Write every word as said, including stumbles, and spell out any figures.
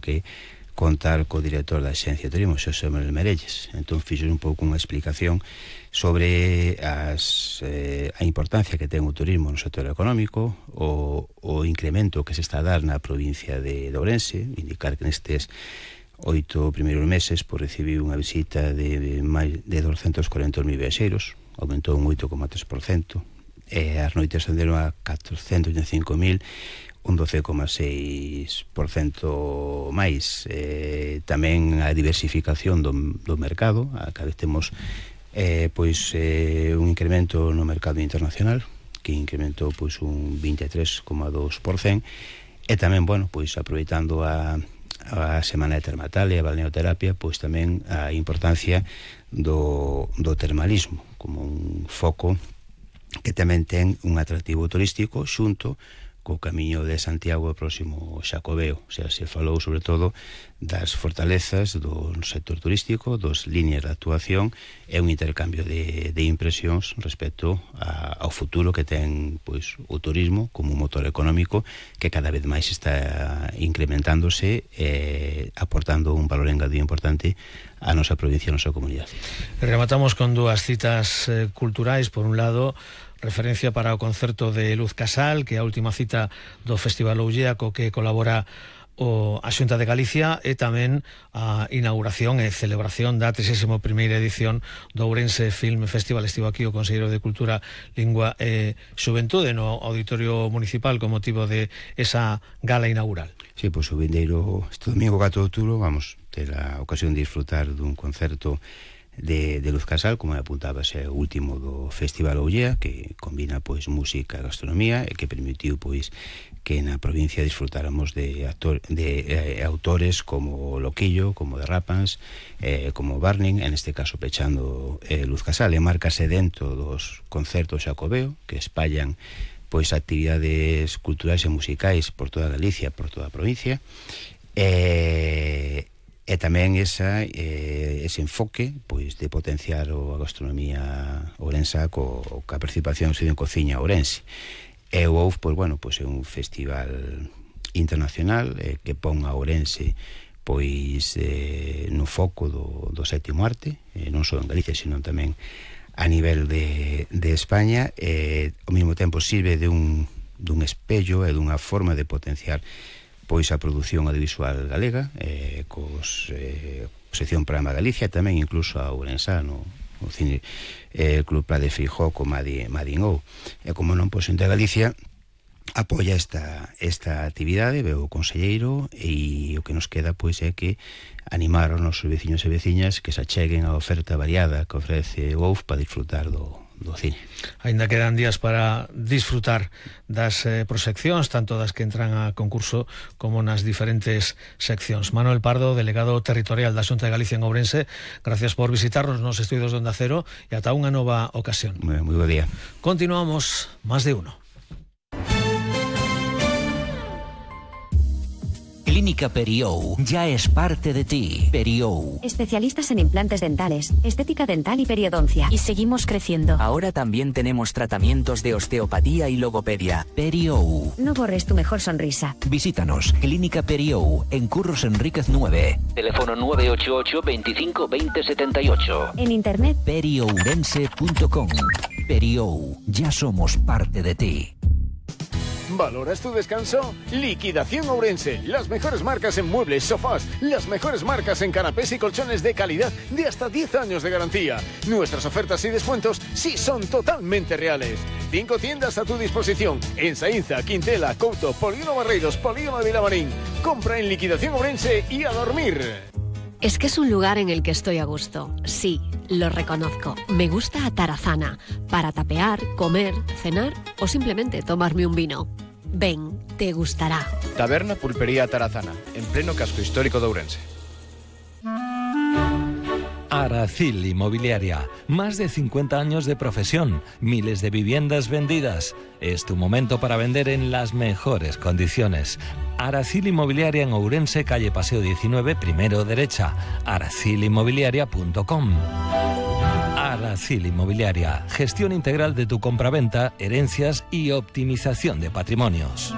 que contar co director da Axencia de Turismo, Xosé Manuel Merelles. Entón fixo un pouco unha explicación sobre as, eh, a importancia que ten o turismo no sector económico, o, o incremento que se está a dar na provincia de, de Ourense, indicar que nestes oito primeiros meses pues, recibiu unha visita de máis de doscientos cuarenta mil viaxeiros, aumentou un oito coma tres por cento, e as noites ascenderon a catrocentos e cinco mil, un doce coma seis por cento máis. Eh, tamén a diversificación do, do mercado, a cada vez temos eh, pois, eh, un incremento no mercado internacional, que incrementou pois, un veintitrés coma dos por cento, e tamén, bueno, pois aproveitando a, a semana de termatal e a balneoterapia, pois tamén a importancia do, do termalismo como un foco que tamén ten un atractivo turístico xunto co camiño de Santiago próximo Xacobeo. O sea, se falou sobre todo das fortalezas do sector turístico, dos líneas de actuación e un intercambio de, de impresións respecto a, ao futuro que ten pois, o turismo como un motor económico que cada vez máis está incrementándose e aportando un valor engadido importante a nosa provincia, a nosa comunidade. Rematamos con dúas citas eh, culturais. Por un lado, referencia para o concerto de Luz Casal, que é a última cita do Festival Ollea, co que colabora o, a Xunta de Galicia, e tamén a inauguración e celebración da trigésima primeira edición do Ourense Film Festival. Estivo aquí o Conselleiro de Cultura, Lingua e Xuventude no Auditorio Municipal con motivo de esa gala inaugural. Sí, pois o vindeiro este domingo catro de outubro vamos ter a ocasión de disfrutar dun concerto de, de Luz Casal, como apuntaba, é o último do Festival Ollea, que combina pois música e gastronomía e que permitiu pois que na provincia disfrutáramos de, actor, de eh, autores como Loquillo, como Derrapans, eh, como Barning, en este caso pechando eh, Luz Casal, e márcase dentro dos concertos Xacobeo, que espallan pois actividades culturais e musicais por toda Galicia, por toda a provincia, e, e tamén esa, eh, ese enfoque pois de potenciar a gastronomía ourensa co, ca participación en Cociña Ourense. E o O U F, pois, bueno, pois é un festival internacional eh, que pon a Ourense pois eh, no foco do, do sétimo arte, eh, non só en Galicia, sino tamén a nivel de, de España, eh, ao mesmo tempo sirve de un, dun espello e dunha forma de potenciar pois a produción audiovisual galega, eh, cos eh, sección Programa Galicia, e tamén incluso a Ourensano, o cine eh, Club Pla de Feijó con Madin O. E como non, pois en Galicia apoia esta, esta actividade, veo o conselleiro, e o que nos queda pois é que animar aos nosos veciños e veciñas que se acheguen a oferta variada que ofrece o O U F para disfrutar do, do cine. Ainda quedan días para disfrutar das eh, proxeccións, tanto das que entran a concurso como nas diferentes seccións. Manuel Pardo, delegado territorial da Xunta de Galicia en Ourense, gracias por visitarnos nos estudios de Onda Cero e ata unha nova ocasión. Moi, moi bo día. Continuamos, Más de Uno. Clínica Periou ya es parte de ti. Periou. Especialistas en implantes dentales, estética dental y periodoncia. Y seguimos creciendo. Ahora también tenemos tratamientos de osteopatía y logopedia. Periou. No borres tu mejor sonrisa. Visítanos, Clínica Periou, en Curros Enríquez nueve. Teléfono nueve ocho ocho, veinticinco, veinte, setenta y ocho. En internet, periourense punto com. Periou, ya somos parte de ti. ¿Valoras tu descanso? Liquidación Ourense. Las mejores marcas en muebles, sofás, las mejores marcas en canapés y colchones de calidad de hasta diez años de garantía. Nuestras ofertas y descuentos sí son totalmente reales. Cinco tiendas a tu disposición en Saínza, Quintela, Couto, Polígono Barreiros, Polígono de Vilamarín. Compra en Liquidación Ourense y a dormir. Es que es un lugar en el que estoy a gusto. Sí, lo reconozco. Me gusta Atarazana, para tapear, comer, cenar o simplemente tomarme un vino. Ven, te gustará. Taberna Pulpería Atarazana, en pleno casco histórico de Ourense. Aracil Inmobiliaria, más de cincuenta años de profesión, miles de viviendas vendidas. Es tu momento para vender en las mejores condiciones. Aracil Inmobiliaria en Ourense, calle Paseo diecinueve, primero derecha, aracil inmobiliaria punto com. Aracil Inmobiliaria, gestión integral de tu compraventa, herencias y optimización de patrimonios.